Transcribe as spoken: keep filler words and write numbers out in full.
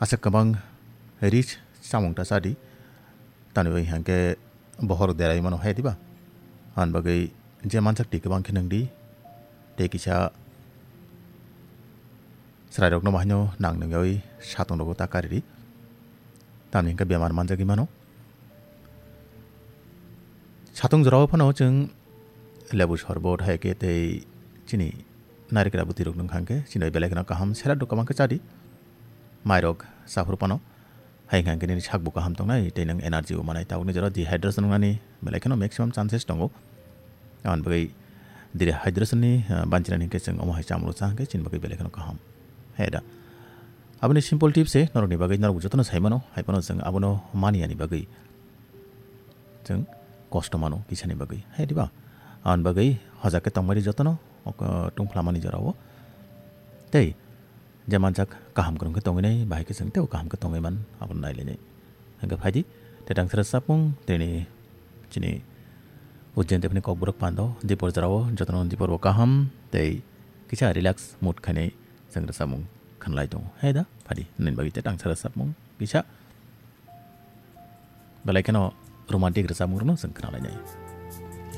Aswk kwbang rich chamung ta chadi, tamni bagwi hwnkhe bohor derai mano hai diba? Aboni bagwi je manjak twi kwbang khe nwng di, tei kisa chwrairokno bahaino nang nungyawi satung rogo ta kari di, tamni hwnkhe bemar manjagwi mano. Satung jorao phano chwng lebu sorbot hai khe tei chini narikra bwtwirok nung kha hwnkhe chini bai belai kheno kaham, salad rok kwbang khe chadi, mairok saphuru phano hai hwnkhe nini sakbo kaham tongnai tei nwng energy bo manai. Tabukni jorao dehydration wngnani belai kheno maximum chances tongo. Aboni bagwi dehydration ni, ah, banchinani hwnkhe chwng omo hai chamung rok cha hwnkhe chini bagwi belai kheno kaham. Hai da. Aboni simple tips se norokni bagwi norok jotono sai mano, hai phano chwng abono maniyani bagwi chwng kosto mano kisani bagwi, hai diba? Aboni bagwi hojak khe tongmani jotono, ok, tungphlamani jorao. Tei je manjak kaham kwrwng khe tongwi nai, bahai khe chwng teibo kaham khe tongwi man, abono nailainai. Hwnkhe phaidi, tei tangsa rwchapmung, tini chini Ujjain Devi ni Kokborok pando, dipor jorao jotono dipor bo kaham, tei kisa relax mood khainai chwng rwchapmung khwnlai tongo. Hai da, phaidi, nini bagwi tei tangsa rwchapmung kisa. Belai kheno romantic rwchapmung rokno chwng khwnalainai.